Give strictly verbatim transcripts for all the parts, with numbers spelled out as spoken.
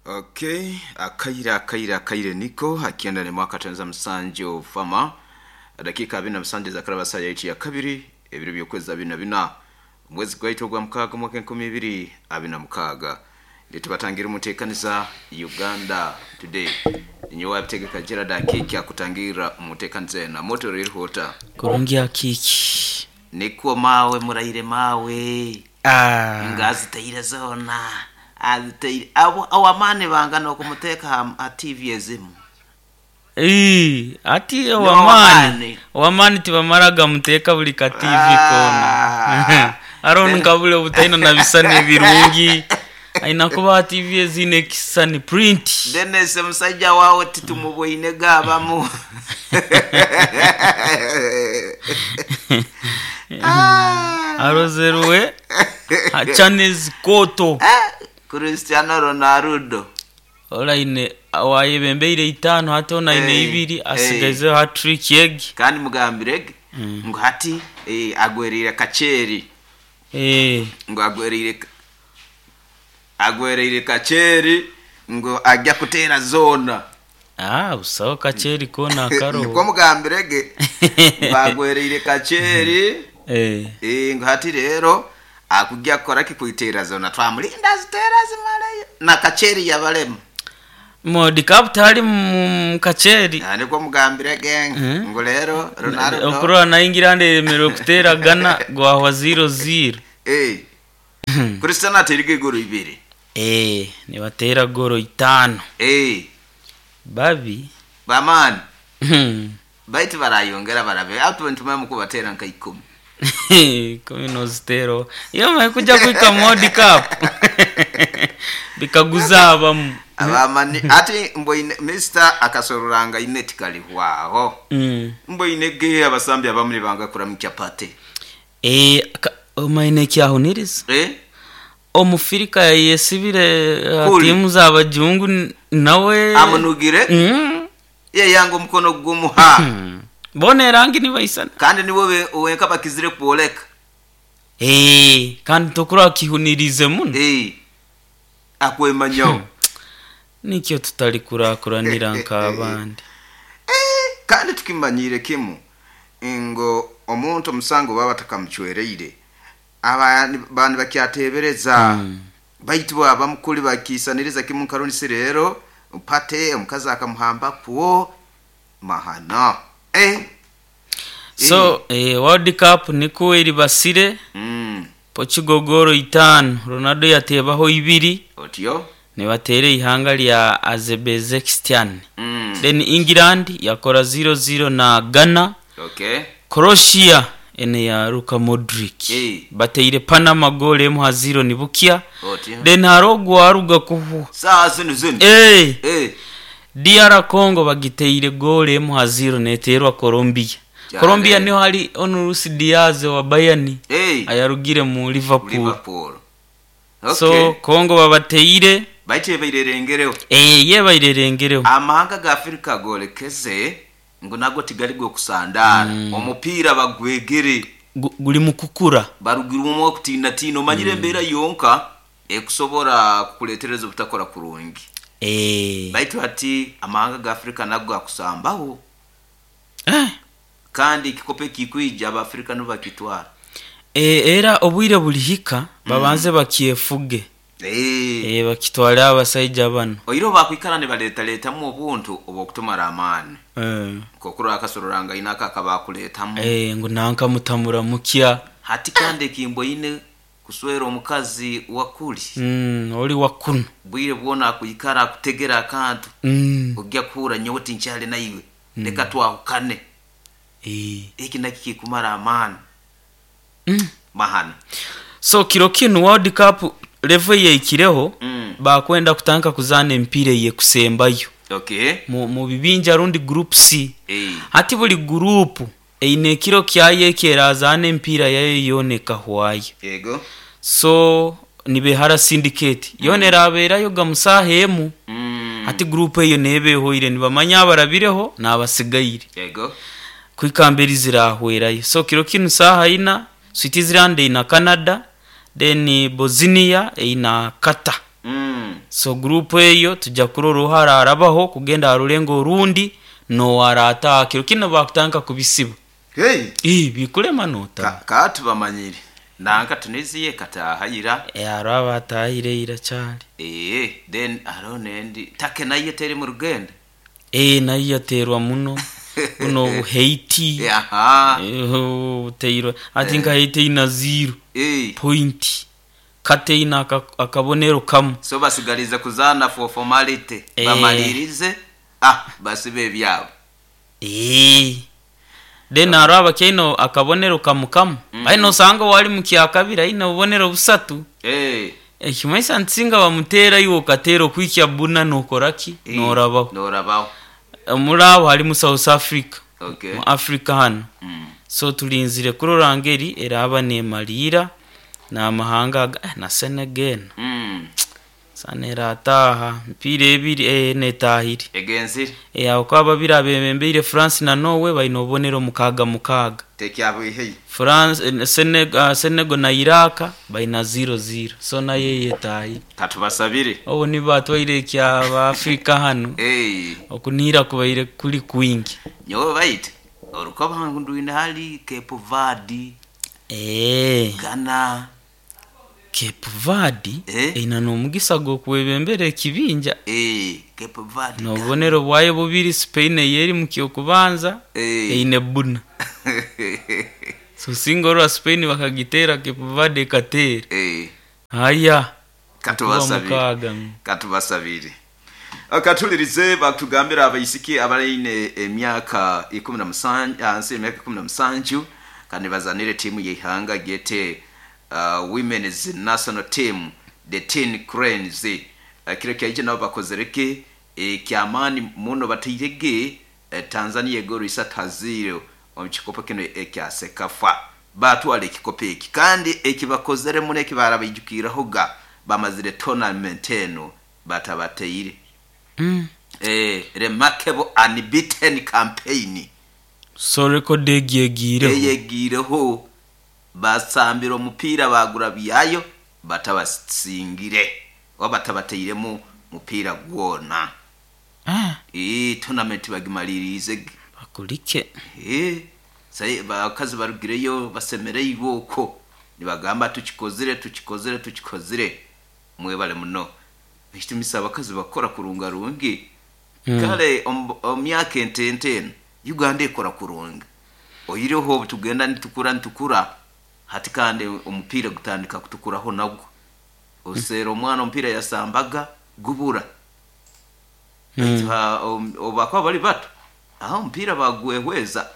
Okay, akaire akaire akaire niko akienda ni mwaka tanza musanju fama dakika abiri na musanju zakaraba saa ya kabiri ebiro by'okwezi abiri na bina omwezi gwaitu ogwa mukaaga mwaka enkumi ibiri abiri na mukaaga nitubatangira omuteekaniza Uganda Today. Ninyowe wabitegeka Gerard Akiki akutangira omuteekaniza ena moto ririhuta Kurungi Akiki. Nikuwa mawe muraire mawe Ah. ngazitaire zona azitaire abo awamani bangana okumuteeka ha, ha T V ezimu. Ii, ati owamani. owamani owamani tibamaraga muteeka buli ka T V Ah. koona aroho nkabule obutaina na bisani ebirungi aina kuba ha T V eziine ekisani print. Dennis omusajja waawe titumubwine gaabamu. Ah. Arozerwe ha channels koto. Ah, Cristiano Ronaldo Olaine wayebembeire itaano hati onaine Hey, ibiri hey. asigaizeho hat-trick egi. Kandi mugambirege ngu hati eh, agwereire kaceeri. Eh, Ngu agwereire agwereire kaceeri ngu ajja kuteera zoona. Ah, busaho kaceeri koona Niko akaroho. mugambirege bagwereire kaceeri. Eh. Eh, ngu hati rero akujja kukora kikuiteera zona twamulinda aziteera zimaleyo na kaceeri yabalema. Modi Cup tali mu kaceeri. Ah, niko mugambirege Mm. ngu rero Ronaldo Okurora na England eremerwe kuteera Ghana gwahwa zero zero. Eh, Cristiano ateerige igoro ibiri. Eh, nibateera goro itaano. Eh, babi. Bamaani baitu barayongera barabe atu ntumamu kubateera nka ikumi. Kumi noziteero iyo maye kuja kwika mu World Cup bikaguza abamu. Abamani ati mboine Mister akasororanga ineti kalihwaho. Mm. Mboine ge abasambi abamu nibanga kuramu chapati. Eh, ka- omaine ekyahuniriza Eh omufirika yayesibire uh, Kuli. tiimu z'abajungu n- nawe amunugire. Mm. Ye yanga omukono gumuha. Mm. Bona erangi nibaisana. Kandi niwe we- wenka bakizire kwoleka. Eh, kandi tokura kihunirize muno. Eh, akwemanyaho. Nikyo tutali kurakuranira nk'abandi. Eh, kandi tukimanyire kimu ngo omuntu omusango baba batakamucwereire abandi bantu bakyatebereza Mm. baitu baba mukuli bakisaniriza kimu nkarunisi rero pate omukazi akamuhamba kuwo mahana eh. So eh, World Cup niko eribasire. mm. Portugal goro itaano, Ronaldo yatebaho ibiri. Otyo. Nibateera ihanga lya Azerbaijan. mm. Then England yakora zero zero na Ghana. Okay Croatia ene ya Luka Modric Eh. bateire Panama gol emu ha zero nibukya. Otyo. Then hariho ogwaruga kuhu Saa zinu zinu. eh, eh. D R Congo bagiteire gol emu ha zero neterwa Colombia. Cyane. Colombia niho hari ono Luis Diaz wa Bayern eh. ayarugire mu Liverpool. Liverpool, okay. So Congo babateire. Baitu bairerengereho. Eh, ye bairerengereho. Amahanga ga Afirika golekeze ngo nago tigali gokusandara mm. omupiira bagwegere. Gu- guli mu kukura. Barugirwemu okutiinatiina omanyire embeera yonka ekusobora kukuletereza obutakora kurungi. Eh. Baitu hati amahanga ga Afirika nago gakusambaho. Eh. Kandi ekikopo ekikwija abafirika nibo bakitwara. Eh, era obwire bulihika babanze bakyefuge. Eh. Eh, bakitwale abasaija bano. Oiro bakwikara nibareetaletamu obuntu obwokutumara amaani. Eh. Kokurora akasororanga inaka akabakuleetamu. Eh, ngu nanka mutamura mukya. Hati kandi ekimboine kuswera omukazi wakuli mm, oli wakuno. Bwire bwona akuikara akutegera akantu. mm. Ojja kuhura nyowe tinkyali naiwe, leka twahukane. Eh. Eki nakyo kikumara amaani. Mm. Mahana. So kiro kinu World Cup level yeikireho Mm. bakwenda kutandika kuzaana empiira eyekusembayo okay mu, mu bibinja rundi group C. Eh. Hati buli gurupu eine ekiro kyayo ekyerazaana empiira yayo yoona ekahwayo. Yego. So nibehara syndicate yoona erabeerayo ga musaaha emu. mm. Hati gurupu eyo neeba ehoire nibamanya abarabireho n'abasigaire yego kwikamberi zirahwerayo. So kiro kinu saaha ina Switzerland eina Canada, then Bosnia eina Qatar. mm. So group eyo tujja kurora ohararabaho kugenda aha rurengo orundi nowarataha kiro kino bakutandika kubisiba. Hey. Ii, bikulema nota. Ka, katubamanyire nanka Tunisia katahayira. Hariho abatahire ira kyari. Eh, then hariho nendi take nayo teri mu rugendo. Eh, nayo yaterwa muno buno obu Haiti. Aha. Eh, buteirwe ati nka Haiti ina zero Eh. point kate ina aka- akabonero kamwe. So basigalize kuzana for formality. Eh. Bamalirize ah basibe ebyabo. Eh. Then hariho abakyaine akabonero kamu kamu. mm. Aine osanga wali mu kyakabiri aine obubonero busatu. Eh. Ekimaisa nsinga bamuteera iwe okateera okwikya buna nokoraki? Eh, Norabaho. Norabaho. Muri abo harimu South Africa. Okay. Mu Africa hano. Mm. So tulinzire kurora ngeri eraba nemaliira n'amahanga aga- eh, na Senegal. Mm. Sana erataha emipiira ebiri eh, netahire. Egenzire. Eh, aho kwa babiri abebembeire France na Norway baine obubonero mukaaga mukaaga. Tekyabwihei. France eh, Senegal, Senegal na Iraq baina zero zero. So nayo yetahire. Katubasabire. Obu nibatwaire ekyaba Afrika hano. Eh. Okunihira kubaire kuri kwingi. Nyowe baite orukoba ndwine hali Cape Verde, Eh, Ghana. Cape Verde Eh? eina n'omugisa gw'okwebembera ekibinja. Eh, Cape Verde. N'obubonero bwayo bubiri Spain eyeri mu kyokubanza Eh. eine buna. So singa orwa Spain bakagiteera Cape Verde ekateera. Eh. Haya. Katubasabire. Mukaaga. Katubasabire. Katulirize batugambira abaisiki abaine emyaka ikumi na musanju hansi emyaka ikumi na musanju kandi bazanire timu y'ihanga gete uh, women's national team the Teen Cranes. uh, kiro kyaije nabo bakozereke ekyamaani muno batairege eh, Tanzania egoro isatu haziro omu kikopo kino ekya CECAFA. Batwara ekikopo eki kandi ekibakozere muno ekibarabaijukirahoga bamazire tournament eno batabateire. Mm. Eh, remarkable unbeaten campaign. So record egyegiireho. Eyegiireho basambira omupiira bagura byayo batabasingire oba batabateiremu mupiira gwona. Ah, Eh, tournament bagimalirize. bakulike. Eh, sai bakazi barugireyo basemereirwe okwo nibagamba tukikozire tukikozire tukikozire mwebale muno. Ekitumisa abakazi bakora kurunga rungi. Mm. Kale omu myaka entente eno Uganda ekora kurungi. Oyireho tugenda nitukura nitukura hati kandi omupiira gutandika kutukuraho nagwo. Oseera omwana omupiira yasambaga gubura. Mm. Obakaba bali bato aho omupiira bagwehweza.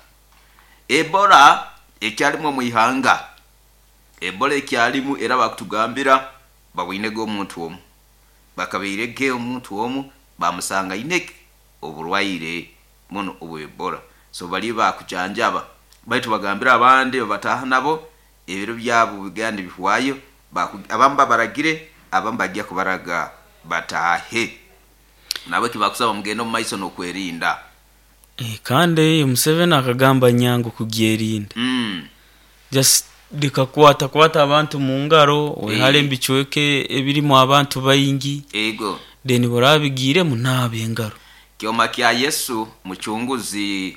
Ebola ekyalimu omu ihanga. Ebola ekyalimu era bakutugambira babwinege omuntu omu. Bakabeirege omuntu omu bamusanga ineke oburwaire muno obu Ebola. So bali bakujanjaba baitu bagambira abandi babataha nabo ebiro byabo biganda bihwayo abamu babaragire abamu bajya kubaraga batahe. Nabo kibakusaba mugende omu maiso n'okwerinda. Eh, kandi Museveni akagamba nyangu kugyerinda. Mm. Just likakwata kwata abantu mu ngaro wehale Eh. embicweke ebirimu abantu baingi. Ego. Then borabigiremu naaba engaro. Kyoma kya Yesu muchunguzi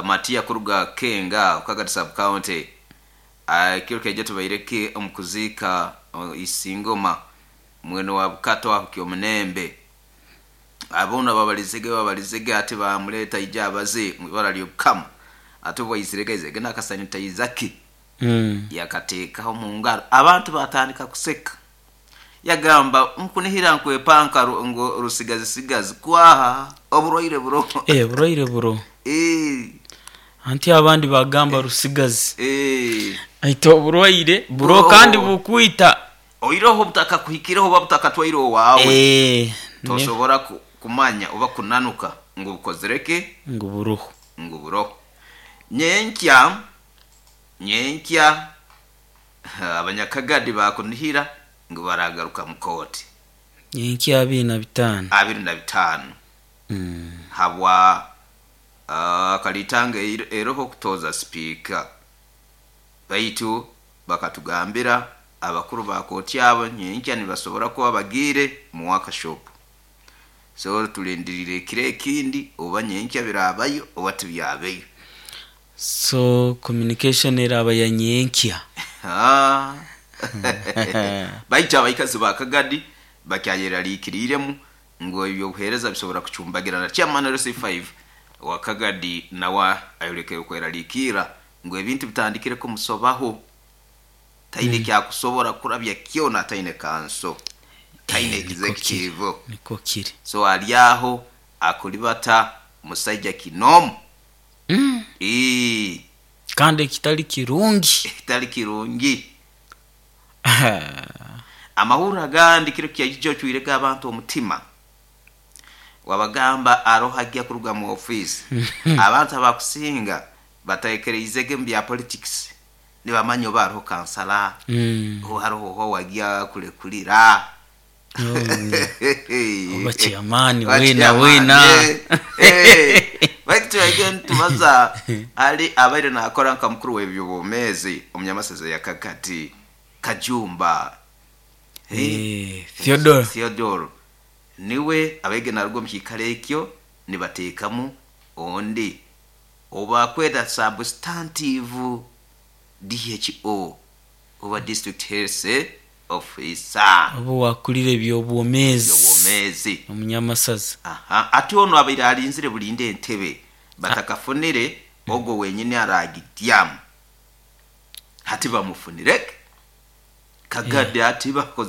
Matia kuruga Kenga Kagadi sub county. Uh, kiro keje tubaireke omukuzika uh, isingoma mweno wa Bukato aho kyomunembe. Abona babalizege babalizege ati bamuleta ija abaze mu ibara ly'Obukama. Ate bwaizirege izege n'akasanitayizaki. Mm. Yakateekaho mu ngaro abantu batandika kuseka. Yagamba nkunihira nkwepanka ru- ngo rusigazi sigazi kwaha oburwaire buro. Eh, burwaire buro. Eh, Anti abandi bagamba rusigazi. eh. Aita oburwaire buro Buro. kandi bukwita. Oiroho butaka kuhikireho oba butakatwaire owaawe. Eh, ne- Tosobora ku- kumanya oba kunanuka ngu bukozereke ngu buroho. ngu buroho. Nyenkya nyenkya abanyakagadi bakunihira ngu baragaruka mu kooti. Nyenkya abiri na bitaano. Abiri na bitaano. Mm. Habwa uh, kalitanga eroho kutoza speaker. Baitu bakatugambira Abakuru ba kooti abo nyenkya nibasobora kuba bagiire mu workshop, so tulindirire ekiro ekindi oba nyenkya birabayo oba tibyabeyo. So communication eraba ya nyenkya. Ah. Baitu abaikazi ba Kagadi bakyayeraliikiriremu ngu ebyobuheereza bisobora kucumbagirana. Chairman L C five wa Kagadi nawe ayolekere okweraliikirra ngu ebintu bitandikire kumusobaho, taine Mm. kyakusobora kurabya kyona, taine kanso, taine Eh, niko kiri. executive. Niko kiri. So ali aho akulibata musaija kinomu. Mm. Ii, kandi ekitali kirungi. Ekitali kirungi. Amahurro agandi kiro kyaijo ocwirege abantu omutima, wabagamba aroho ajja kuruga mu ofiisi. Abantu abakusinga batekereizege mu bya politics, nibamanya oba hariho kansala, Mm. oba hariho oho wajya kurekurira. Oh, oba chairman Oba wena chairman, wena. eh, eh. Baitu twege nitubaza ali abaire nakora nka mukuru w'ebyobwomeezi omunyamasaza ya Kakati Kajumba. Eh, Eh, Theodore. Theodore niwe abaige naruga omu kiikaro ekyo, nibateekamu ondi obakweta substantive D H O oba district health officer. Oba wakulira ebyobwomeezi. Ebyobwomeezi. Omunyamasaza. Aha, ate ono abaire alinzire bulinde entebe batakafunire ogwo wenyini aragidyamu, hati bamufunireke Kagadi, ati bakoze.